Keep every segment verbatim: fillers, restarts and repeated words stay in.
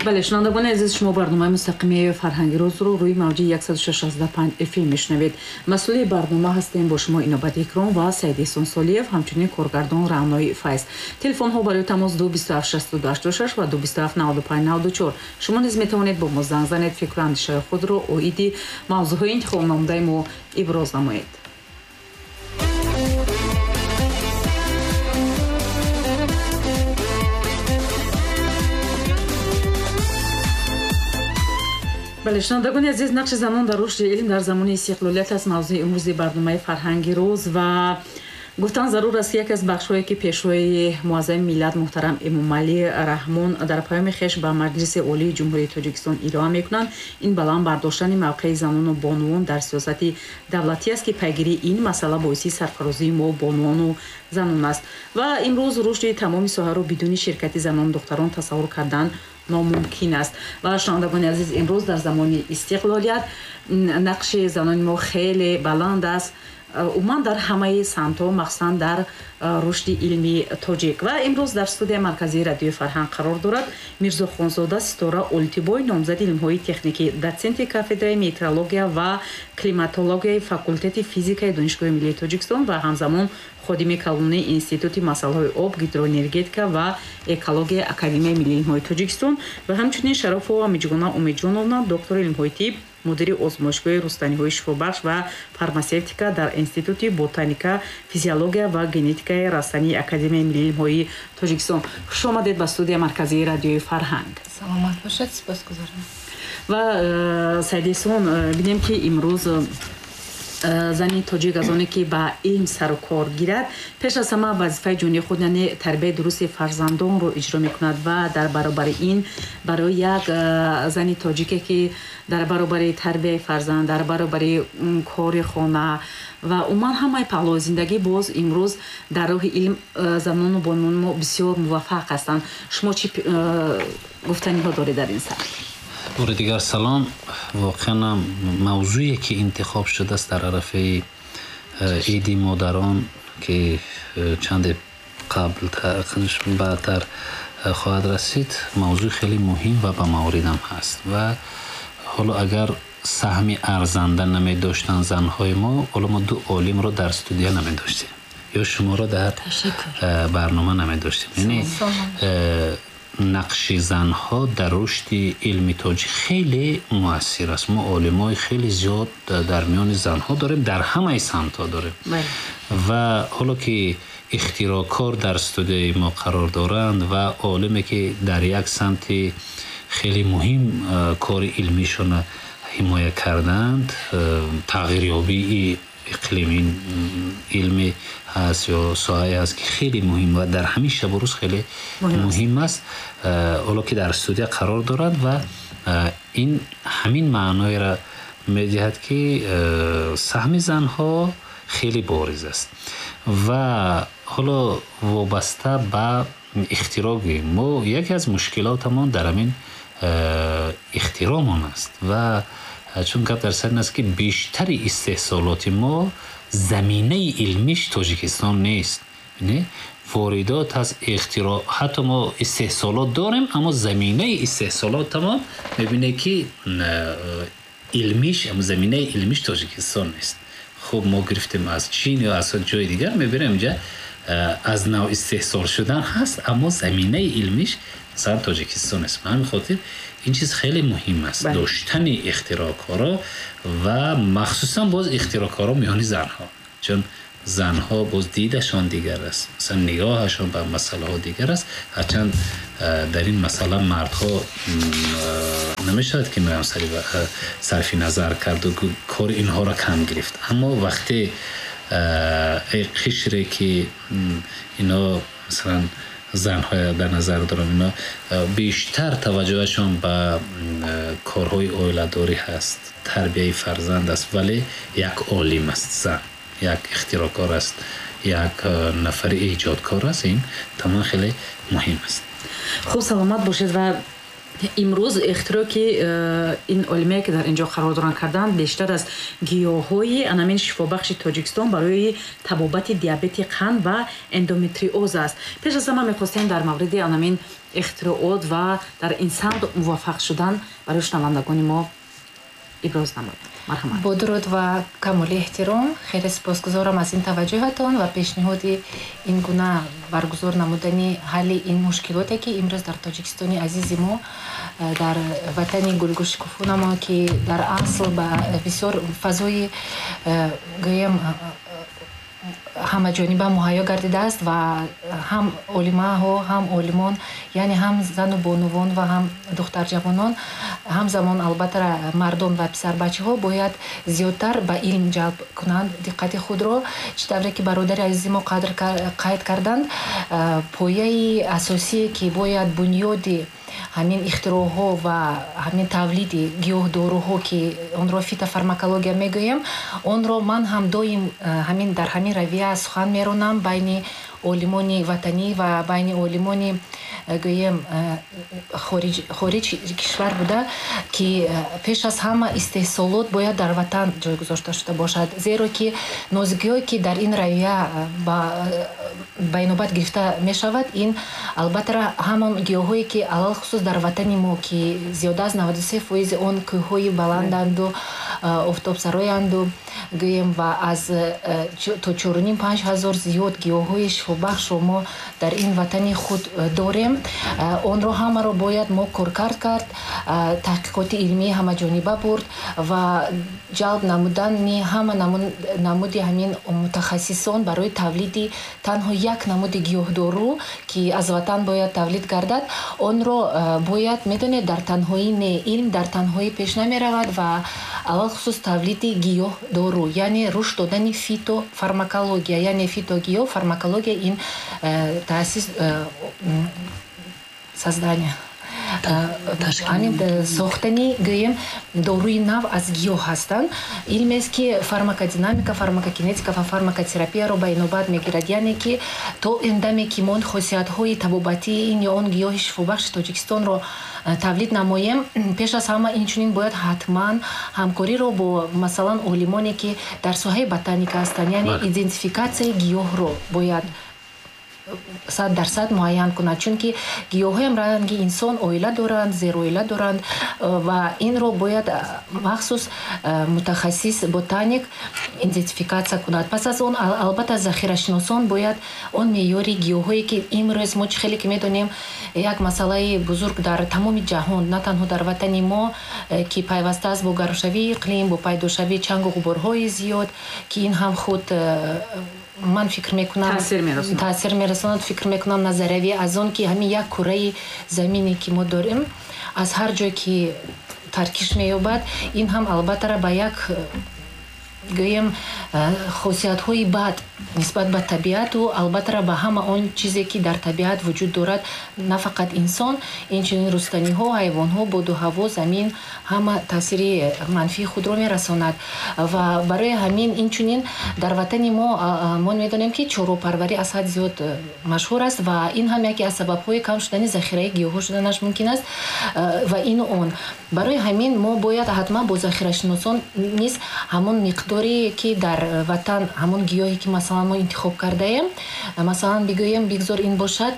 Бале, шунавандагони азиз, шумо барномаи мустақими фарҳанги рӯзро рӯи мавҷи яксаду шасту панҷ эф эм мешунавед. Масъули барнома ҳастем бо шумо Инобат Икром ва Саид Эҳсон Солиев, ҳамчунин коргардон Раънои Файз. Телефонҳо барои тамос ду бисту ҳафт шасту ду ҳаштоду шаш ва ду бисту ҳафт наваду панҷ наваду чор. Шумо низ метавонед бо мо занг занед, фикру андешаи худро оиди мавзӯъҳои интихобнамудаи мо иброз намоед. Бале, шунавандагони азиз, нақши занон дар рушди илм дар замони истиқлолият аст мавзӯи имрӯзи барномаи фарҳанги рӯз ва гуфтан зарур аст, ки яке аз бахшҳое ки пешвои муаззами миллат муҳтарам Эмомалӣ Раҳмон дар паёми хеш ба Маҷлиси Олии Ҷумҳурии Тоҷикистон ироа мекунанд, ин баланд бардоштани мавқеи занону бонувон дар сиёсати давлатӣ аст, ки пайгирии ин масъала боиси сарфарозии мо бонувону занон аст. Ва имрӯз рушди тамоми соҳаро бидуни ширкати занону духтарон тасаввур кардан номумкин аст. Ва шунавандагони азиз, имрӯз дар замони истиқлолият нақши занони мо хеле баланд аст, умуман дар ҳамаи самтҳо, махсусан дар рушди илми тоҷик. Ва имрӯз дар студияи марказии радиои фарҳанг қарор дорад Мирзохонзода Ситора Олтибой, номзади илмҳои техникӣ, дотсенти кафедраи метеорология ва климатологияи факултети физикаи Донишгоҳи миллии Тоҷикистон ва ҳамзамон ходими калонии Институти масъалаҳои об, гидроэнергетика ва экологияи Академияи миллии илмҳои Тоҷикистон ва ҳамчунин Шарофова Миҷгуна Умедҷоновна, доктори илмҳои тиб, мудири озмоишгоҳи рустаниҳои шифобахш ва фармасевтика дар Институти ботаника, физиология ва генетикаи растании Академияи миллии илмҳои Тоҷикистон. Хуш омадед ба студияи марказии радиои фарҳанг. Саломат бошед, сипосгузорам. Ва Саид Эҳсон, бинем ки имрӯз зани тоҷик аз оне ки ба илм сару кор гирад, пеш аз ҳама вазифаи ҷонии худ, яъне тарбияи дурусти фарзандонро иҷро мекунад ва дар баробари ин барои як зани тоҷике ки дар баробари тарбияи фарзанд, дар баробари кори хона ва умуман ҳамаи паҳлӯи зиндагӣ, боз имрӯз дар роҳи илм занону бонувони мо бисёр муваффақ ҳастанд. Шумо чӣ гуфтаниҳо доред дар ин сар? бори дигар салом. Воқеан мавзӯе ки интихоб шудааст дар арафаи иди модарон, ки чанде қабл баъдтар хоҳад расид, мавзӯи хеле муҳим ва ба мавридам ҳаст. Ва ҳоло агар саҳми арзанда намедоштанд занҳои мо, ҳоло мо ду олимро дар студия намедоштем ё шуморо дар барнома намедоштем. Яъне нақши занҳо дар рушди илми тоҷик хеле муассир аст. Мо олимои хеле зиёд дар миёни занҳо дорем, дар ҳамаи самтҳо дорем. Ва ҳоло ки ихтироъкор дар студияи мо қарор доранд ва олиме ки дар як самти хеле муҳим кори илмишонро ҳимоя карданд, тағйирёбии иқлими илми ҳаст ё соҳае ҳаст ки хеле муҳим ва дар ҳамин шабу рӯз хеле муҳим аст, ҳоло ки дар студия қарор дорад ва ин ҳамин маъноеро медиҳад ки саҳми занҳо хеле бориз аст. Ва ҳоло вобаста ба ихтироъ гӯем, мо яке аз мушкилотамон дар ҳамин ихтироъмон аст. Ва чун гап дар сар ин аст ки бештари истеҳсолоти мо заминаи илмиш Тоҷикистон нест. Воридот аст, ихтироъ, ҳатто мо истеҳсолот дорем, аммо заминаи истеҳсолотамо мебинед ки илмиш, заминаи илмиш Тоҷикистон нест. Хуб, мо гирифтем аз Чин ё аз ҷои дигар, мебинем инҷа аз нав истеҳсол шудан ҳаст, аммо заминаи илмиш масалан Тоҷикистон нест. Ба ҳамин хотир ин чиз хеле муҳим аст, доштани ихтироъкоро ва махсусан боз ихтироъкоро миёни занҳо, чун занҳо боз дидашон дигар аст, масалан нигоҳашон ба масъалаҳо дигар аст. Ҳарчанд дар ин масъала мардҳо намешавад ки меам сарфи назар карду кори инҳоро кам гирифт, аммо вақте қишре ки ино масалан занҳоя дар назар дорам, ино бештар таваҷҷӯҳашон ба корҳои оиладорӣ ҳаст, тарбияи фарзанд аст, вале як олим аст зан, як ихтироъкор аст, як нафари эҷодкор аст. Ин тамом хеле муҳим аст. Хуб, саломат бошед. Ва Имрӯз ихтироъ ки ин олимае ки дар инҷо қарор доранд карданд, бештар аз гиёҳҳои анамин шифобахши Тоҷикистон барои табобати диабети қанд ва эндометриоз аст. Пеш аз ҳама мехостем дар мавриди анамин ихтироот ва дар ин самт муваффақ шудан барои шунавандагони мо иброз намоед. Марҳамат. Бо дуруд ва камоли эҳтиром, хеле сипосгузорам аз ин таваҷҷӯҳатон ва пешниҳоди ин гуна баргузор намудани ҳалли ин мушкилоте, ки имрӯз дар Тоҷикистони азизи мо, дар ватани гулгӯшукуфунамо, ки дар асл ба бисёр фазои гӯем ҳамаҷониба муҳайё гардидааст ва ҳам олимаҳо, ҳам олимон, яъне ҳам зану бонувон ва ҳам духтарҷавонон, ҳамзамон албатта мардон ва писарбачаҳо бояд зиёдтар ба илм ҷалб кунанд диққати худро. Чӣ тавре ки бародари азизи мо қадр қайд карданд, пояи асосие ки бояд бунёди ҳамин ихтироъҳо ва ҳамин тавлиди гиёҳдоруҳо, ки онро фитофармакология мегӯем, онро ман ҳам доим ҳамин дар ҳамин равия сухан меронам байни олимони ватанӣ ва байни олимони гӯем хориҷ, хориҷ кишвар буда, ки пеш аз ҳама истеҳсолот бояд дар ватан ҷой гузошта шуда бошад, зеро ки нозикиҳое ки дар ин равия ба ба инобат гирифта мешавад, ин албатта ҳамон гиёҳое ки алалхусус дар ватани мо, ки зиёда аз наваду се фоизи он кӯҳҳои баланданду офтобсароянду гӯем ва аз то чоруним панҷ ҳазор зиёд гиёҳҳои шифобахшро мо дар ин ватани худ дорем, онро ҳамаро бояд мо коркард кард, таҳқиқоти илмии ҳамаҷониба бурд ва ҷалб намудани ҳама намуди ҳамин мутахассисон барои тавлиди танҳо як намуди гиёҳдору, ки аз ватан бояд тавлид гардад, онро бояд медонед дар танҳоӣ не, илм дар танҳоӣ пеш намеравад ва алалхусус тавлиди гиёҳдору, яъне рушд додани фитофармакология, яъне фитогиёҳ фармакология ин таъсис создания ҳамин сохтани гӯем доруи нав аз гиёҳ ҳастанд. Илмест ки фармакодинамика, фармакокинетика ва фармакотерапияро ба инобат мегирад, яъне ки то эндаме ки мо хосиятҳои табобатии ин ё он гиёҳи шифобахши Тоҷикистонро тавлид намоем, пеш аз ҳама инчунин бояд ҳатман ҳамкориро бо масалан олимоне ки дар соҳаи ботаника ҳастанд, яъне идентификатсияи гиёҳро бояд сад дарсад муайян кунад, чунки гиёҳҳоям ранги инсон оила доранд, зероила доранд ва инро бояд махсус мутахассис ботаник идентификатсия кунад. Пас аз он албатта захирашиносон бояд он меъёри гиёҳҳое ки имрӯз мо чӣ хеле ки медонем як масъалаи бузург дар тамоми ҷаҳон, на танҳо дар ватани мо, ки пайваста аст бо гармшавии иқлим, бо пайдошавии чангу ғуборҳои зиёд, ки ин ҳам худ ман фикр мекунам таъсир мерасонад. Фикр мекунам назариявӣ аз он ки ҳамин як кураи замине ки мо дорем аз ҳар ҷое ки таркиш меёбад, ин ҳам албатта ба як гӯем хосиятҳои бад нисбат ба табиату албатта ба ҳама он чизе ки дар табиат вуҷуд дорад, на фақат инсон, инчунин рустаниҳо, ҳайвонҳо, боду ҳаво, замин ҳама таъсири манфии худро мерасонад. Ва барои ҳамин инчунин дар ватани мо мо медонем ки чорвопарварӣ аз ҳад зиёд машҳур аст ва ин ҳам яке аз сабабҳои кам шудани захираи гиёҳҳо шуданаш мумкин аст ва ину он. Барои ҳамин мо бояд ҳатман бо захирашиносон низ ҳамон миқдоре ки дар ватан ҳамон гиёҳе ки масалан мо интихоб кардаем, масалан бигӯем бигзор ин бошад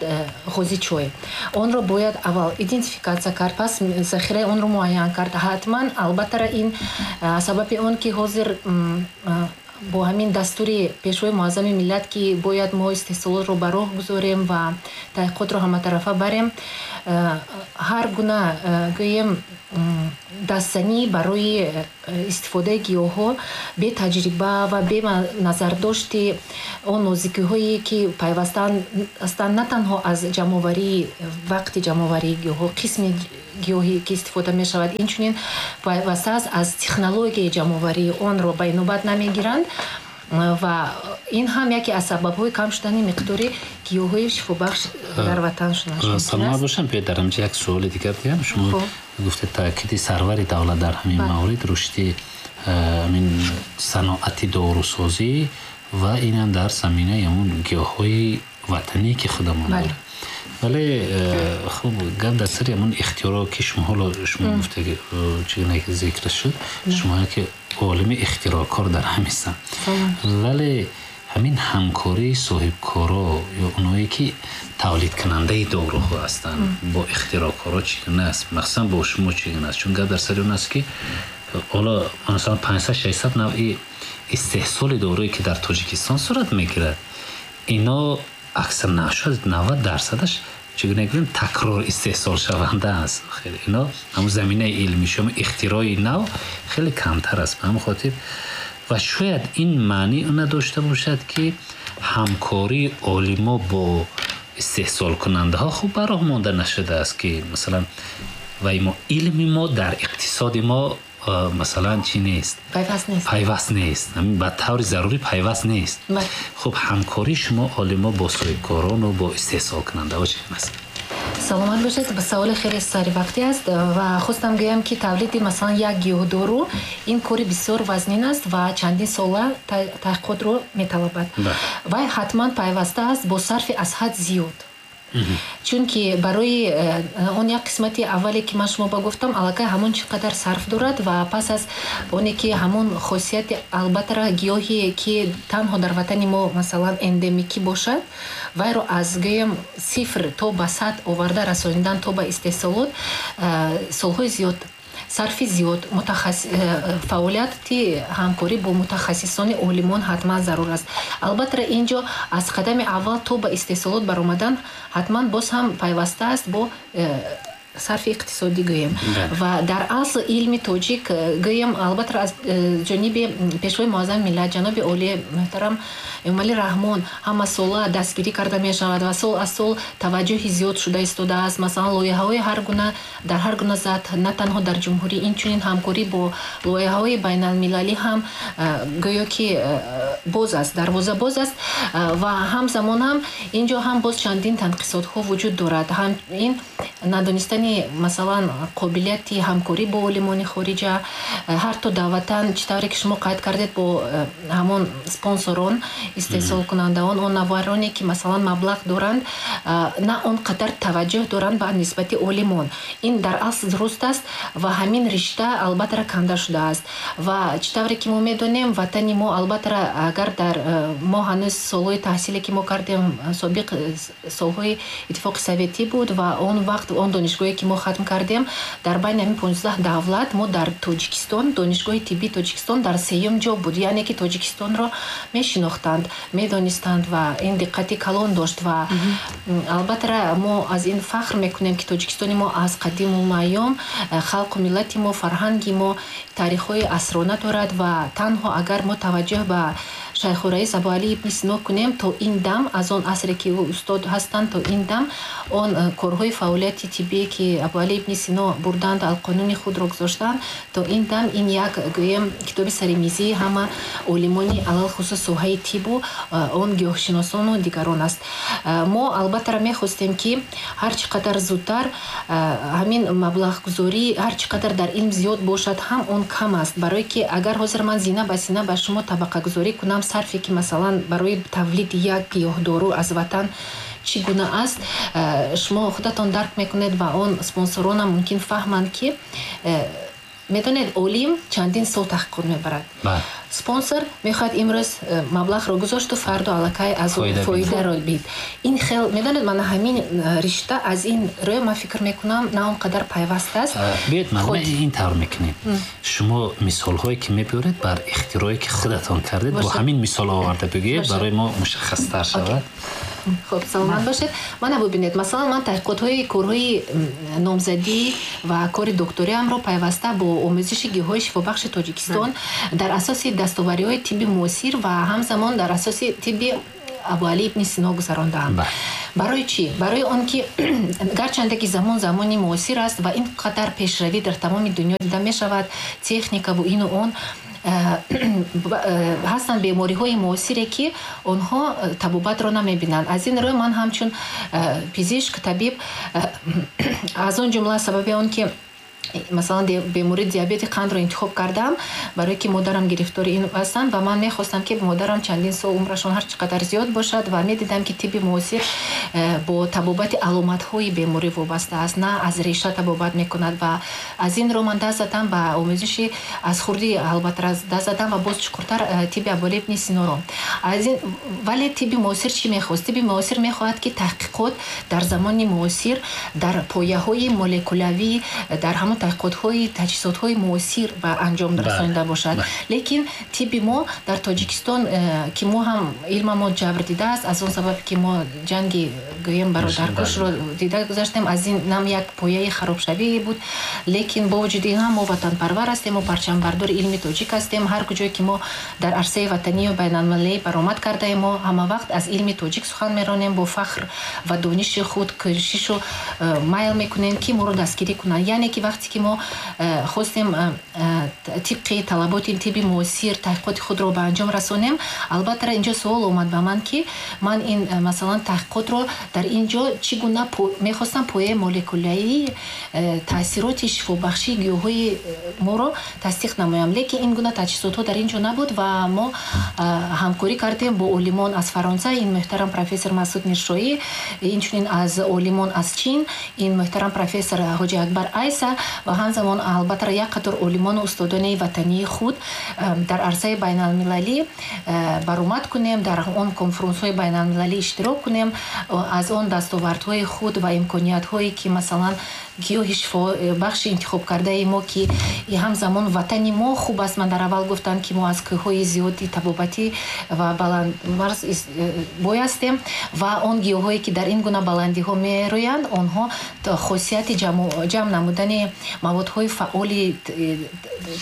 ғози чой, онро бояд аввал идентификатсия кард, пас захираи онро муайян кард. Ҳатман албатта ин сабаби он ки ҳозир бо ҳамин дастури пешвои муаззами миллат ки бояд мо истеҳсолотро ба роҳ гузорем ва таҳқиқотро ҳаматарафа барем, ҳар гуна гӯем дастзанӣ барои истифодаи гиёҳҳо бетаҷриба ва беназардошти он нозикиҳое ки пайвастаанд ҳастанд на танҳо аз ҷамъоварии вақти ҷамъоварии гиёҳҳо, қисми гиёҳе ки истифода мешавад, инчунин пайваста аст аз технологияи ҷамъоварии онро ба инобат намегиранд ва ин ҳам яке аз сабабҳои кам шудани миқдори гиёҳҳои шифобахш дар ватан шуданаш мумкин аст. Саломат бошам. Биёед дар ҳамҷа як суоли дигар диҳам. Шумо гуфтед таъкиди сарвари давлат дар ҳамин маврид рушди ҳамин саноати дорусозӣ ва инам дар заминаи ҳамун гиёҳҳои ватанӣ ки худамон дорем. Вале хуб, гап дар сари ҳамон ихтиёро ки шумо ҳоло шумо гуфтаги, чигуна ки зикр шуд, шумо ки олими ихтироъкор дар ҳамистанд, вале ҳамин ҳамкории соҳибкоро ё оное ки тавлидкунандаи доруҳо ҳастанд бо ихтироъкоро чӣ гуна аст, махсусан бо шумо чӣ гуна аст? Чун гап дар сари он аст ки ҳоло масалан панҷсад шашсад навъи истеҳсоли доруе ки дар Тоҷикистон сурат мегирад, ино аксар шояд навад дарсадаш, чӣ гуна гӯем, такрор истеҳсолшаванда аст. Ино ҳамун заминаи илмишо ихтирои нав хеле камтар аст. Ба ҳамин хотир ва шояд ин маънии она дошта бошад, ки ҳамкории олимо бо истеҳсолкунандаҳо хуб ба роҳ монда нашудааст, ки масалан вай мо илми мо дар иқтисоди мо масалан чӣ нест, пайваст нест, ба таври зарурӣ пайваст нест. Хуб, ҳамкории шумо олимо бо соҳибкорону бо истеҳсолкунандаҳо чӣ гуна аст? Саломат бошед. Саволи хеле саривақтӣ аст ва хостам гӯям, ки тавлиди масалан як гиёҳдору ин кори бисёр вазнин аст ва чандин сола таҳқиқотро металабад. Вай ҳатман пайваста аст бо сарфи аз ҳад зиёд, чунки барои э, он як қисмати аввале ки ман шумо ба гуфтам, аллакай ҳамон чӣ қадар сарф дорад ва пас аз оне ки ҳамон хосияти албатта гиёҳе ки танҳо дар ватани мо масалан эндемикӣ бошад, вайро аз гӯем сифр то ба сад оварда расонидан то ба истеҳсолот э, солҳои зиёд, сарфи зиёд, э, фаъолияти ҳамкорӣ бо мутахассисони олимон ҳатман зарур аст. Албатта, ин ҷо аз қадами аввал то ба истеҳсолот баромадан ҳатман боз ҳам пайваста аст бо э, сарфи иқтисодӣ гӯем. Ва дар асл илми тоҷик э, гӯем, албатта аз э, ҷониби Пешвои Муаззами миллат ҷаноби олии муҳтарам Эмомалӣ Раҳмон ҳамасола дастгирӣ карда мешавад ва сол аз сол таваҷҷӯҳи зиёд шуда истодааст. Масалан, лоиҳаҳои ҳар гуна дар ҳар гуна сатҳ, на танҳо дар ҷумҳурӣ, инчунин ҳамкорӣ бо лоиҳаҳои байналмилалӣ ҳам э, гӯё ки боз аст, дарвоза боз аст. Ва ҳамзамон ҳам ин ҷо ҳам боз чандин танқисотҳо вуҷуд дорад. Ҳам ин надонистани масалан қобилияти ҳамкорӣ бо олимони хориҷа, ҳарто даъватан, чӣ тавре ки шумо қайд кардед, бо э, ҳамон спонсорон, истеҳсолкунандаон, он нафароне ки масалан маблағ доранд, э, на он қадар таваҷҷӯҳ доранд ба нисбати олимон. Ин дар асл дуруст аст ва ҳамин ришта албатта канда шудааст. Ва чӣ тавре ки мо медонем, ватани мо албатта агар дар э, мо ҳанӯз солҳои таҳсиле ки мо кардем, собиқ солҳои Иттифоқи Советӣ буд ва он вақт он донишгоҳе ки мо хатм кардем, дар байни ҳамин понздаҳ давлат мо дар Тоҷикистон, Донишгоҳи тиббии Тоҷикистон дар сеюм ҷо буд. Яъне ки Тоҷикистонро мешинохтанд, медонистанд ва ин диққати калон дошт. Ва албатта мо аз ин фахр мекунем, ки Тоҷикистони мо аз қадиму айём э, халқу миллати мо, фарҳанги мо таърихҳои асрона дорад. Ва танҳо агар мо таваҷҷӯҳ ба Шайхураис Абуалӣ ибни Сино кунем, то ин дам, аз он асре ки ӯ устод ҳастанд то ин дам, он э, корҳои фаъолияти тиббие ки Абуалӣ ибни Сино бурданд, Алқонуни худро гузоштанд, то ин дам ин як гӯем китоби саримизии ҳама олимони, алалхусус соҳаи тибу э, он гиёҳшиносону дигарон аст. э, мо албатта мехостем, ки ҳар чӣ қадар зудтар ҳамин маблағгузорӣ ҳар чӣ қадар дар илм зиёд бошад ҳам, он кам аст, барое ки агар ҳозир ман зина ба зина ба шумо табақагузорӣ кунам, сарфе ки масалан барои тавлиди як гиёҳдору аз ватан чӣ гуна аст, э, шумо худатон дарк мекунед ва он спонсоронам мумкин фаҳманд, ки э, медонед, олим чандин сол таҳқиқот мебарад, спонсор мехоҳад имрӯз э, маблағро гузошту фардо аллакай аз фоидаро бид. Ин хел, медонед, мана ҳамин ришта аз ин рӯ ман фикр мекунам, на он қадар пайваст аст. Биёед, ман ин тавр мекунем: шумо мисолҳое ки мебиёред, бар ихтирое ки худатон кардед, бо ҳамин мисол оварда бигӯед, барои мо мушаххастар шавад. Хуб, саломат бошед. Мана бубинед, масалан, ман таҳқиқотҳои корҳои номзадӣ ва кори докториамро пайваста бо омӯзиши гиёҳҳои шифобахши Тоҷикистон дар асоси дастовариҳои тибби муосир ва ҳамзамон дар асоси тибби Абуалӣ ибни Сино гузарондаам. Барои чӣ? Барои он ки гарчанде ки замон замони муосир аст ва ин қадар пешравӣ дар тамоми дунё дида мешавад, техникаву ину он, э, э, ҳастанд бемориҳои муосире, ки онҳо э, табобатро намебинанд. Аз ин рӯ ман ҳамчун пизишк, табиб, аз он ҷумла сабаби он ки Масалан, бемории диабети қандро интихоб кардам, барое ки модарам гирифтори ин ҳастанд ва ман мехостам, ки модарам чандин сол умрашон ҳар чӣ қадар зиёд бошад, ва медидам, ки тибби муосир э, бо табобати аломатҳои беморӣ вобаста аст, на аз реша табобат мекунад. Ва аз ин ро ман даст задам ба омӯзиши аз хурдӣ, албатта, даст задам ва боз чуқуртар э, тибби Абуалӣ ибни Синоро. Аз ин, вале тибби муосир чӣ мехост? Тибби муосир мехоҳад, ки таҳқиқот дар замони муосир дар пояҳои молекулявӣ, дар ҳамон таҳқиқотҳои таҷҳизотҳои муосир ба анҷом расонида бошад. Лекин тибби мо дар Тоҷикистон, э, ки мо ҳам илмамо ҷабр дидааст, аз он сабабе ки мо ҷанги, гӯем, бародаркушро дида гузаштем, аз ин нам як пояи харобшавӣ буд. Лекин бо вуҷуди ин ҳам мо ватанпарвар ҳастем, мо парчамбардори илми тоҷик ҳастем. Ҳар куҷое ки мо дар арсаи ватанию байналмилалӣ баромад кардаем, мо ҳама вақт аз илми тоҷик сухан меронем бо фахр ва дониши худ кӯшишу э, майл мекунем, ки моро дастгирӣ кунанд. Яъне ки вақте ки мо э, хостем э, тибқи талаботи тибби муосир таҳқиқоти худро ба анҷом расонем, албатта, инҷо суол омад ба ман, ки ман ин, масалан, таҳқиқотро дар ин ҷо чӣ гуна мехостам пояи молекулявии таъсироти шифобахшии гиёҳҳои моро тасдиқ намоям. Лекин ин гуна таҷҳизотҳо дар ин ҷо набуд ва мо ҳамкорӣ кардем бо олимон аз Фаронса, ин муҳтарам профессор Масуд Миршоӣ, инчунин аз олимон аз Чин, ин муҳтарам профессор Ҳоҷи Акбар Айса, ва ҳамзамон, албатта, як қатор олимону устодони ватании худ дар арсаи байналмилалӣ баромад кунем, дар он конференсҳои байналмилалӣ иштирок кунем, аз он дастовардҳои худ ва имкониятҳое, ки, масалан, гиёҳи шифобахши интихобкардаи мо, ки ҳамзамон ватани мо хуб аст. Ман дар аввал гуфтам, ки мо аз кӯҳҳои зиёди табобатӣ ва баландмарз бой ҳастем ва он гиёҳҳое, ки дар ин гуна баландиҳо мерӯянд, онҳо хосияти ҷамъ намудани маводҳои фаъоли,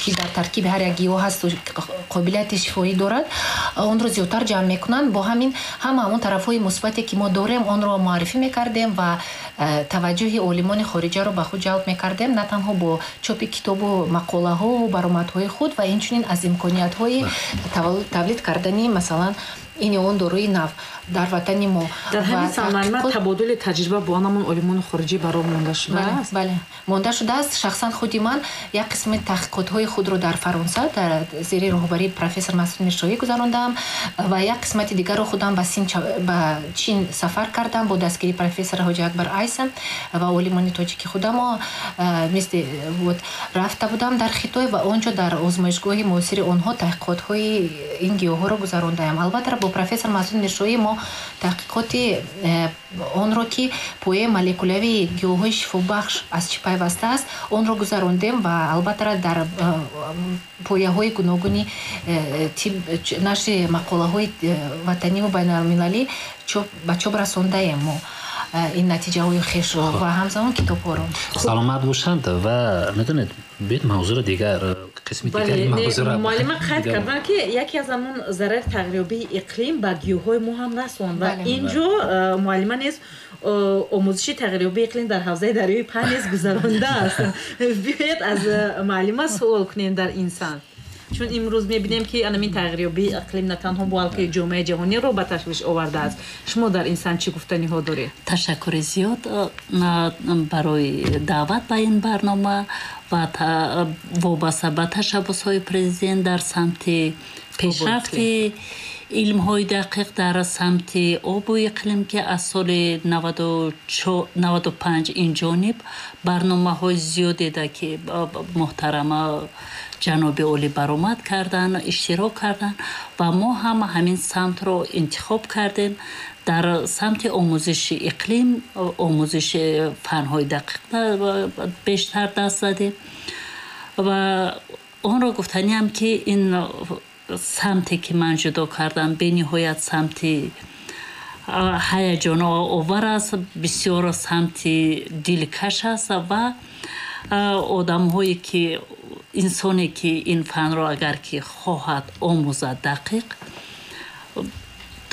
ки дар таркиби ҳар як гиёҳ ҳасту қобилияти шифоӣ дорад, онро зиёдтар ҷамъ мекунанд. Бо ҳамин ҳама он тарафҳои мусбате, ки мо дорем, онро муаррифӣ мекардем ва э, таваҷҷӯҳи олимони хориҷаро ба худ ҷалб мекардем, на танҳо бо чопи китобу мақолаҳову баромадҳои худ, ва инчунин аз имкониятҳои тавлид кардани, масалан, ин ё он доруи нав дар ватани мо. Дар ҳамин самт табодули таҷриба бо ҳамон олимони хориҷӣ ба роҳ монда шудааст? Бале, монда шудааст. Шахсан худи ман як қисми таҳқиқотҳои худро дар Фаронса дар зери роҳбарии профессор Масуд Миршоҳӣ гузарондам ва як қисмати дигарро худам ба Чин сафар кардам бо дастгирии профессор Ҳоҷи Акбар Айса ва олимони тоҷики худамо. Мисли вот рафта будам дар Хитой ва он ҷо дар озмоишгоҳи муосири онҳо таҳқиқотҳои ин гиёҳҳоро гузарондаем. Албатта, бо профессор Масуд Миршоҳӣ мо таҳқиқоти э, онро, ки пояи молекулявии гиёҳҳои шифобахш аз чӣ пайваста аст, онро гузарондем ва, албатта, дар э, пояҳои гуногуни э, нашри мақолаҳои ватаниву байналмилалӣ ба чоп расондаем мо ин натиҷаҳои хешро ва ҳамзамон китобҳоро. Саломат бошанд. Ва медонед, биёед мавзӯро дигар, қисми дигари мавзӯро. Муаллима қайд карданд, ки яке аз ҳамон зарари тағйирёбии иқлим ба гиёҳҳои мо ҳам расонд ва ин ҷо муаллима низ омӯзиши тағйирёбии иқлим дар ҳавзаи дарёи Панҷ низ гузарондааст. Биёед, аз муаллима суол кунем дар ин самт, чун имрӯз мебинем, ки анамин тағйирёбии иқлим на танҳо балки ҷомеаи ҷаҳониро ба ташвиш овардааст. Шумо дар ин самт чӣ гуфтаниҳо доред? Ташаккури зиёд барои даъват ба ин барнома ва вобаста ба ташаббусҳои президент дар самти пешрафти илмҳои дақиқ дар самти обу иқлим, ки аз соли наваду панҷ ин ҷониб барномаҳои зиёдеда, ки муҳтарама ҷаноби олӣ баромад карданд, иштирок карданд ва мо ҳам ҳамин самтро интихоб кардем. Дар самти омӯзиши иқлим, омӯзиши фанҳои дақиқ бештар даст задем. Ва онро гуфтаниам, ки ин самте, ки ман ҷудо кардам, бениҳоят самти ҳаяҷоновар аст, бисёр самти дилкаш аст ва одамҳое ки, инсоне ки ин фанро агар ки хоҳад омӯзад дақиқ,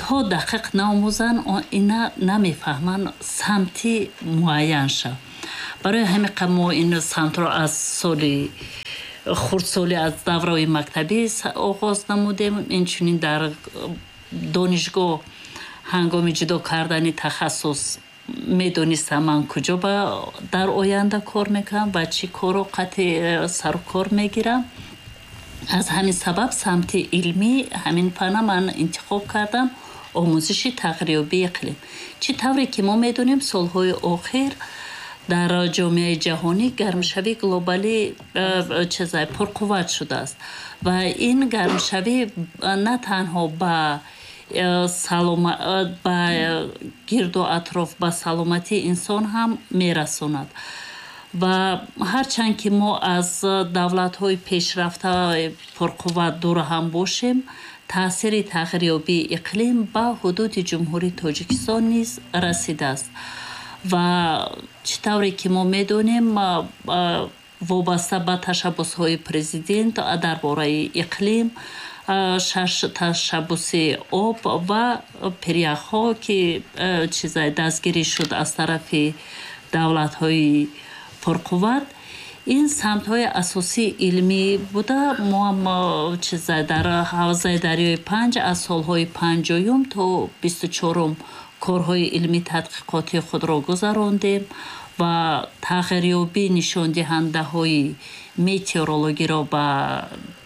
то дақиқ наомӯзанд, ина намефаҳманд самти муайянша. Барои ҳамин мо ин самтро аз соли хурдсолӣ, аз давраи мактабӣ оғоз намудем. Инчунин дар донишгоҳ ҳангоми ҷудо кардани тахассус Медонистам, ман куҷо дар оянда кор мекунам ва чӣ корро қатъи сарукор мегирам. Аз ҳамин сабаб самти илмӣ ҳамин фана ман интихоб кардам, омӯзиши тағйирёбии иқлим. Чӣ тавре ки мо медонем, солҳои охир дар ҷомеаи ҷаҳонӣ гармшавии глобалӣ чизай пурқувват шудааст ва ин гармшавӣ на танҳо ба ба гирду атроф, ба саломатии инсон ҳам мерасонад. Ва ҳарчанд ки мо аз давлатҳои пешрафта пурқувват дур ҳам бошем, таъсири тағйирёбии иқлим ба ҳудуди Ҷумҳурии Тоҷикистон низ расидааст. Ва чӣ тавре ки мо медонем, вобаста ба ташаббусҳои президент дар бораи иқлим, шаш ташаббуси об ва пиряхҳо, ки чизай дастгирӣ шуд аз тарафи давлатҳои пурқувват, ин самтҳои асосии илмӣ буда. Мо ҳам чизай дар ҳавзаи дарёи Панҷ аз солҳои панҷоюм то бисту чорум корҳои илмӣ тадқиқотии худро гузарондем ва тағйирёбии нишондиҳандаҳои метеорологиро ба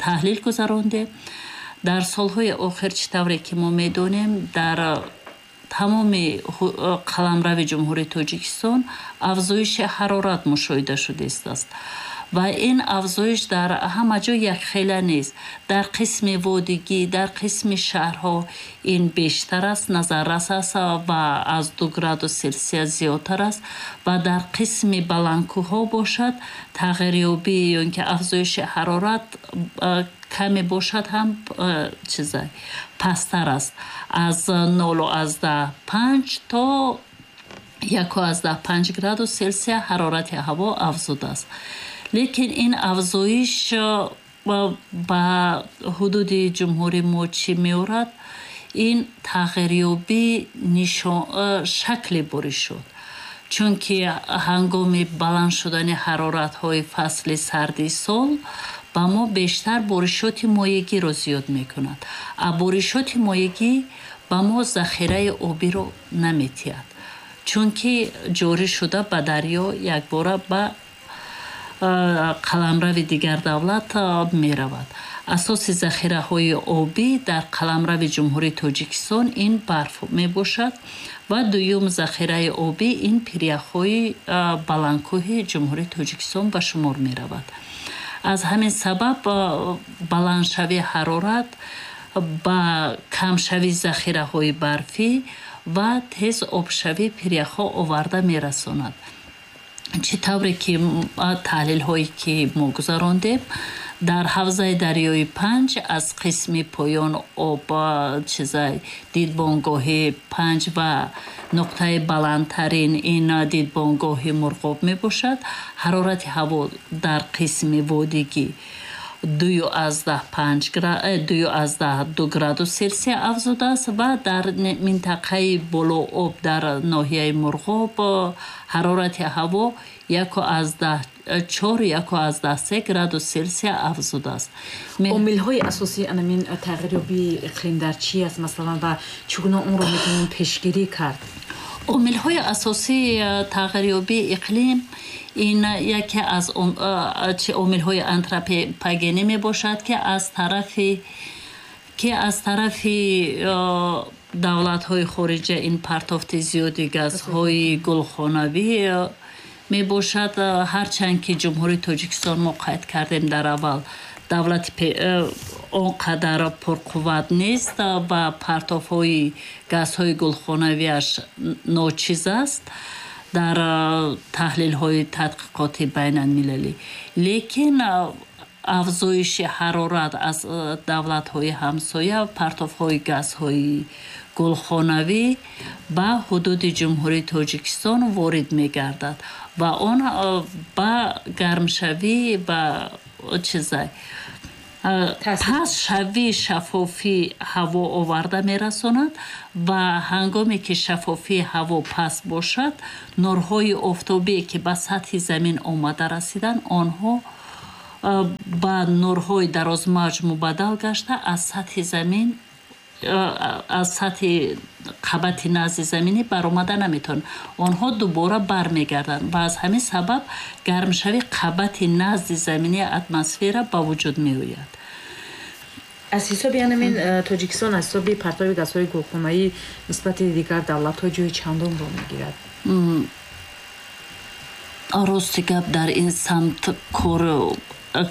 таҳлил гузарондем. Дар солҳои охир, чӣ тавре ки мо медонем, дар тамоми қаламрави Ҷумҳурии Тоҷикистон афзоиши ҳарорат мушоҳида шудааст ва ин афзоиш дар ҳама ҷо якхела нест. Дар қисми водигӣ, дар қисми шаҳрҳо ин бештар аст, назаррас аст ва аз ду градус Селсия зиёдтар аст ва дар қисми баландкӯҳҳо бошад, тағйирёбӣ ё ин ки афзоиши ҳарорат каме бошад ҳам, чизай пасттар аст, аз нолу аз даҳ панҷ то яку аз даҳ панҷ градус Селсия ҳарорати ҳаво афзудааст. Лекин ин афзоиш ба ҳудуди ҷумҳурии мо чӣ меорад? Ин тағйирёбӣ шакли бориш шуд, чунки ҳангоми баланд шудани ҳароратҳои фасли сарди сол ба мо бештар боришоти моегиро зиёд мекунад, а боришоти моегӣ ба мо захираи обиро наметиҳад, чунки ҷорӣ шуда ба дарё якбора ба қаламрави дигар давлат меравад. Асоси захираҳои обӣ дар қаламрави Ҷумҳурии Тоҷикистон ин барф мебошад ва дуюм захираи обӣ ин пиряхҳои баландкӯҳи Ҷумҳурии Тоҷикистон ба шумор меравад. Аз ҳамин сабаб баландшавии ҳарорат ба камшавии захираҳои барфӣ ва тез обшавии пиряхҳо оварда мерасонад. Чӣ тавре ки таҳлилҳое ки мо гузарондем, дар ҳавзаи дарёи Панҷ аз қисми поён об чизай дидбонгоҳи Панҷ ва нуқтаи баландтарин ин дидбонгоҳи Мурғоб мебошад, ҳарорати ҳаво дар қисми водигӣ дую аз даҳ панҷ дую аз даҳ ду градус Селсия афзудааст ва дар минтақаи болооб дар ноҳияи Мурғоб ҳарорати ҳаво яку аз даҳ чор, яку аз даҳ се градус Селсия афзудааст. Омилҳои асосии анамин тағйирёбии иқлим дар чӣ аст, масалан, ва чӣ гуна онро метавон пешгирӣ кард? Омилҳои асосии тағйирёбии иқлим ин яке аз омилҳои антропогенӣ мебошад, ки аз тарафи ки аз тарафи давлатҳои хориҷа ин партофти зиёди газҳои гулхонавӣ мебошад. Ҳарчанд ки Ҷумҳурии Тоҷикистон, мо қайд кардем дар аввал, давлати он қадар пурқувват нест ва партофҳои газҳои гулхонавиаш ночиз аст дар таҳлилҳои тадқиқоти байналмилалӣ, лекин афзоиши ҳарорат аз давлатҳои ҳамсоя, партофҳои газҳои гулхонавӣ ба ҳудуди Ҷумҳурии Тоҷикистон ворид мегардад ва он ба гармшавӣ, ба чизай пастшавии шаффофии ҳаво оварда мерасонад. Ва ҳангоме ки шаффофии ҳаво паст бошад, нурҳои офтобие ки ба сатҳи замин омада расиданд, онҳо ба нурҳои дарозмавҷ мубаддал гашта аз сатҳи замин аз сатҳи қабати назди заминӣ баромада наметавонанд, онҳо дубора бармегарданд ва аз ҳамин сабаб гармшавии қабати назди заминии атмосфера ба вуҷуд меояд. Аз ҳисоби ҳамин Тоҷикистон аз ҳисоби партови газҳои гулхонаӣ нисбати дигар давлатҳо ҷои чандумро мегирад? Рости гап, дар ин самт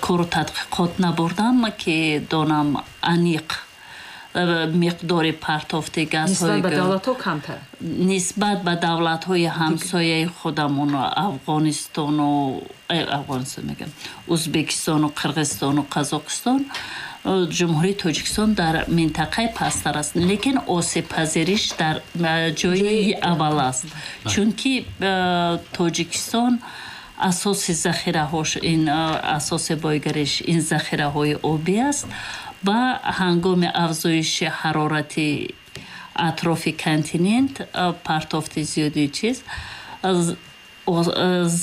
кору тадқиқот набурдам, ки донам аниқ миқдори партофти газҳои нисбат ба давлатҳо камтар. Нисбат ба давлатҳои ҳамсояи худамон, Афғонистону э, Афғонистон мегам, Ӯзбекистону Қирғизистону Қазоқистон, Ҷумҳурии Тоҷикистон дар минтақаи пасттар аст, лекин осебпазириш дар ҷои аввал аст, чунки Тоҷикистон асоси захираҳош ин, асоси бойгариш ин захираҳои обӣ аст ва ҳангоми афзоиши ҳарорати атрофи континент, партофти зиёди чиз,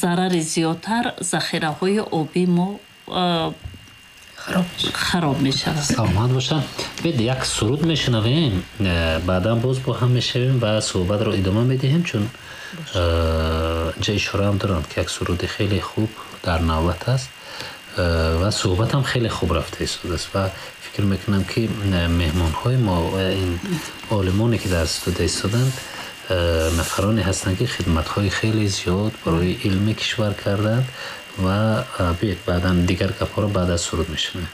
зарари зиёдтар захираҳои обӣ мо хароб мешавад. Саломат бошанд. Бид як суруд мешунавем, баъдан боз бо ҳам мешавем ва суҳбатро идома медиҳем, чун инҷа ишораам доранд, ки як суруди хеле хуб дар навбат аст ва суҳбатам хеле хуб рафта истодааст ва фикр мекунам, ки меҳмонҳои мо, ин олимоне, ки дар студия истоданд, нафароне ҳастанд, ки хидматҳои хеле зиёд барои илми кишвар карданд. Ва биёед, баъдан дигар гапҳоро баъд аз суруд мешунавем.